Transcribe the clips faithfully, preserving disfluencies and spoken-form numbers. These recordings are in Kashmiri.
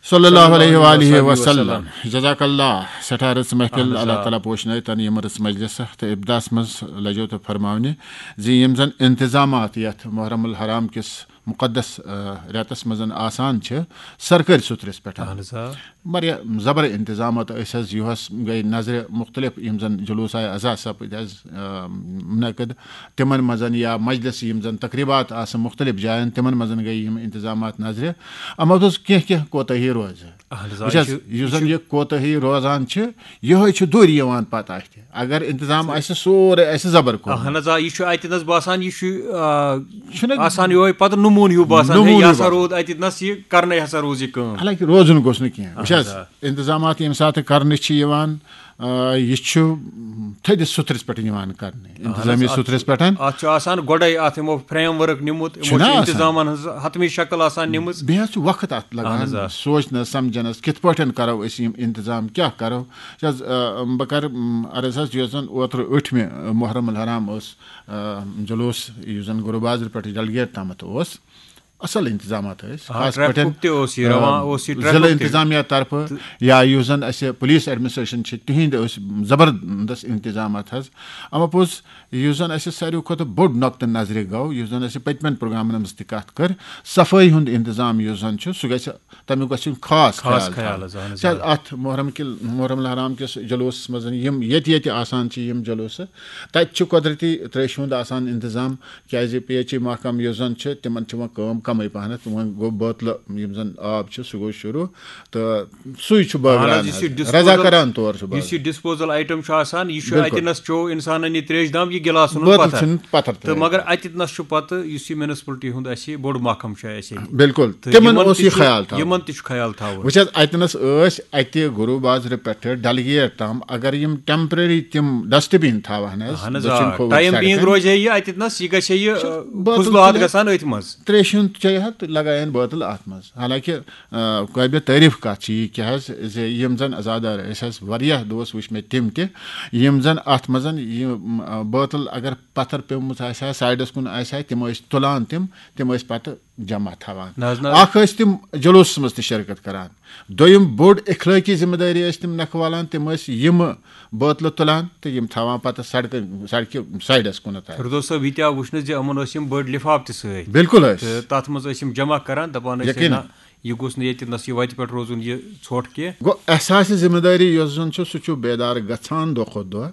صلی اللہ علیہ وآلہ وسلم۔ جزاک اللہ، سٮ۪ٹھاہ رٕژ محفل۔ اہن حظ، اللہ آ۔ تعالیٰ پوشنٲے تن یِم رٕژ مجلس تہٕ ابتداہس منٛز لجو تہٕ فرماونہِ زِ یِم زن انتظامات یتھ محرم الحرام کِس مقدس، آ، رٮ۪تس منٛز آسان چھِ سرکٲرۍ سُترِس پٮ۪ٹھ۔ اہن حظ، آ۔ واریاہ زبر انتظامات ٲسۍ حظ، یُہس گٔے نظرِ مختلف یِم زن جلوس آیہِ عزا سپٕدۍ حظ، آ، منعقد، تِمن منٛز یا مجلس یِم زن تقریبات آسہٕ مختلف جاین، تِمن منٛز گٔے یِم انتظامات نظرِ۔ اما اوس کینٛہہ کینٛہہ کوتاہی روزِ۔ اہن حظ، آ، وٕچھ حظ، یہِ چھُ، یُس یہِ زن چھُ یہِ کوتاہی روزان چھِ، یِہوٚے چھُ دوٗرِ یِوان پتہٕ اَتھِ۔ اگر انتظام آسہِ سورُے اَسہِ زبر کوٚرمُت۔ اہن حظ، آ، یہِ چھُ اَتہِ نَس باسان، یہِ چھُ، آ، چھُنہ آسان یِہوٚے پتہٕ نموٗن ہیوٗ باسان، ہے، نموٗن یہِ ہیوٗ ہسا باسان۔ روٗد اَتہِ نَس، یہِ کرنے ہسا روٗز یہِ کٲم۔ حالانکہِ روزُن گوٚژھ نہٕ کینٛہہ۔ وٕچھ اہن حظ، حظ، آ۔ انتظامات ییٚمہِ ساتہٕ کرنہٕ چھِ یِوان، آ، یہِ چھُ تھٔدِس سُترِس پٮ۪ٹھ یِوان کرنہٕ، اہن حظ، انتظامی اَتھ سُترِس چھُ، پٮ۪ٹھ۔ اَتھ چھُ آسان گۄڈَے اَتھ یِمو فریم ورک نیوٗمُت، یِمو چھُنہ چھُ آسان۔ انتظامن ہٕنٛز حتمی شکل آسان نِمٕژ۔ بیٚیہِ حظ چھُ وقت اَتھ لگان اہن حظ، آ۔ سوچنس، سمجھنس، کِتھ پٲٹھۍ کرو أسۍ یِم انتظام، کیٛاہ کرو؟ چھِ حظ، آ، بہٕ کرٕ، م، عرض حظ، یُس زن اوترٕ ٲٹھمہِ محرم الحرام اوس، آ، جلوس، یُس زن گُرو بازرٕ پٮ۪ٹھ ڈلگیٹ تامتھ اوس، اصل انتظامات ٲسۍ۔ آ، خاص ٹریفکُک پٲٹھۍ، تہِ اوس یہِ آ، رواں، اوس یہِ ضلع ٹریفک تہِ۔ انتظامیہ طرفہٕ تہٕ یا یُس زن اسہِ پُلیٖس ایڈمنسٹریشن چھِ، تِہنٛدۍ ٲسۍ زبردست انتظامات حظ۔ اما پوٚز، یُس زن اسہِ ساروی کھۄتہٕ بوٚڑ نۄقطہٕ نظرِ گوٚو، یُس زن اسہِ پٔتمٮ۪ن پروگرامن منٛز تہِ کتھ کٔر، صفٲیی ہُنٛد انتظام یُس زن چھُ، سُہ گژھِ، تمیُک گژھِ یُن خاص خاص خیال خیال تھاونہٕ۔ حظ، اہن حظ، چھِ حظ آ۔ اتھ محرم کِل-، محرم الحرام کِس جلوسس منٛز یِم ییٚتہِ ییٚتہِ آسان چھِ یِم جلوسہٕ، تتہِ چھُ قۄدرتی تریشہِ ہُنٛد آسان انتظام، کیازِ پی ایچ ای محکمہٕ یُس زن چھُ، تِمن چھِ وۄنۍ کٲم کمٕے پہنتھ، وۄنۍ گوٚو بٲتلہٕ یِم زن آب چھُ، سُہ گوٚو شروع، تہٕ سُے چھُ اہن بٲگراوان حظ، یُس یہِ حظ۔ disposal، رضاکارانہٕ طور چھُ یُس یہِ بٲگراوان۔ Disposal item چھُ آسان، یہِ چھُ بِلکُل۔ اتہِ نس چیو انسانن یہِ تریش دام، یہِ گِلاس اوٚنُن بٲتل پتھر۔ چھُنہٕ پتھر تہٕ ترٲوِتھ۔ مگر اتہِ نس چھُ پتہٕ یُس یہِ municipality ہُنٛد اسہِ بوٚڑ محکمہٕ چھُ اسہِ ییٚتہِ۔ بِلکُل، تہٕ تِمن یِمن اوس تہِ یہِ چھُ، خیال تھاوُن۔ یِمن تہِ چھُ خیال تھاوُن۔ وٕچھ حظ، اتہِ نس ٲسۍ اتہِ گُروٗ بازرٕ پٮ۪ٹھٕ ڈلگیٹ تام، اگر یِم temporary تِم dustbin تھاوہن حظ، اہن حظ، دٔچھِنۍ آ، کھووُر time being سڑکن۔ روزِ ہے یہِ اتہِ نس، یہِ گژھِ ہے یہِ، چھُ آ، بٲتل فضلہٕ آتھ چھُنہٕ گژھان أتھۍ منٛز۔ تریشہِ ہُنٛد چیٚیہِ ہا تہٕ لگایہِ ہن بٲتل اتھ منٛز۔ حالانکہِ، آ، قٲبلِ تعریف کتھ چھِ یہِ کہِ حظ زِ یِم زن عزادار ٲسۍ حظ، واریاہ دوس وٕچھ مےٚ تِم تہِ، یِم زن اتھ منٛز یہِ، م، آ، بٲتل اگر پتھر پیومُت آسہِ ہا، سایڈس کُن آسہِ ہا، تِم ٲسۍ تُلان تِم، تِم ٲسۍ پتہٕ جمع تھاوان۔ نہ حظ، نہ۔ اکھ ٲسۍ تِم جلوسس منٛز تہِ شرکت کران۔ دوٚیِم بوٚڑ اخلٲقی ذمہٕ دٲری ٲسۍ تِم نکھٕ والان، تِم ٲسۍ یِم بٲتلہٕ تُلان تہٕ یِم تھاوان پتہٕ سڑکہِ، سڑکہِ سایڈس کُنتھ۔ فردوس صٲب، یہِ تہِ آو وٕچھنہٕ زِ یِمن ٲسۍ یِم بٔڑۍ لفاف تہِ سۭتۍ۔ بِلکُل ٲسۍ۔ تہٕ تتھ منٛز ٲسۍ یِم جمع کران، دپان ٲسۍ، یقیناً۔ نہ، یہِ گوٚژھ نہٕ ییٚتہِ نس یہِ وتہِ پٮ۪ٹھ روزُن یہِ ژھۄٹھ کینٛہہ۔ گوٚو، احساس ذمہٕ دٲری یۄس زن چھُ، سُہ چھُ بیدار گژھان دۄہ کھۄتہٕ دۄہ۔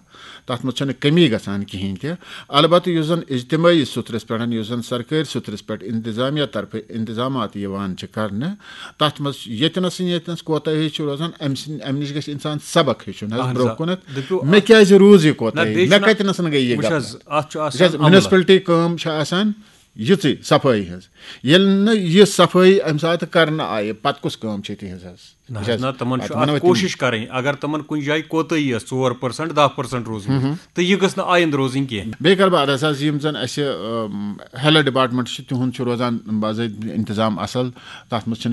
تَتھ منٛز چھَنہٕ کٔمی گژھان کِہیٖنۍ تہِ۔ البتہٕ یُس زَن اجتمٲعی سُترَس پٮ۪ٹھ، یُس زَن سرکٲرۍ سُترَس پٮ۪ٹھ انتظامیہ طرفہٕ انتظامات یِوان چھِ کرنہٕ، تَتھ منٛز ییٚتہِ نَس ییٚتہِ نَس کوتاہی چھِ روزان، اَمہِ سٕنٛدِ، اَمہِ نِش گژھِ اِنسان سبق ہیٚچھُن حظ اہن سا۔ برٛونٛہہ کُنَتھ۔ دٔپِو، مےٚ اَتھ کیٛازِ روٗز یہِ نہ، کوتاہی؟ بیٚیہِ مےٚ چھُنہ، کَتہِ نَسَن گٔے یہِ وٕچھ غلطی؟ حظ، اَتھ چھُ آسان وٕچھ حظ، عملہٕ۔ Municipality کٲم چھِ آسان یِژٕے صفٲیی ہٕنٛز۔ ییٚلہِ نہٕ یہِ صفٲیی اَمہِ ساتہٕ کرنہٕ آیہِ، پَتہٕ کُس کٲم چھِ تِہِنٛز حظ؟ نہ وٕچھ حظ، حظ، نہ، تِمن وَتھ چھُ وَنو اَتھ أسۍ تِمن۔ کوٗشِش کَرٕنۍ۔ اگر تِمن کُنہِ جایہِ کوتٲہی ٲس، ژور percent، دَہ percent روٗزمٕژ، ہُم، ہُم۔ تہٕ یہِ گٔژھ نہٕ آیندٕ روزٕنۍ کینٛہہ۔ بیٚیہِ کَرٕ بہٕ عرض حظ، یِم زَن اَسہِ، ٲم، health department چھِ، تِہُنٛد چھُ روزان باضٲبطہٕ اِنتظام اَصٕل۔ تَتھ منٛز چھِنہٕ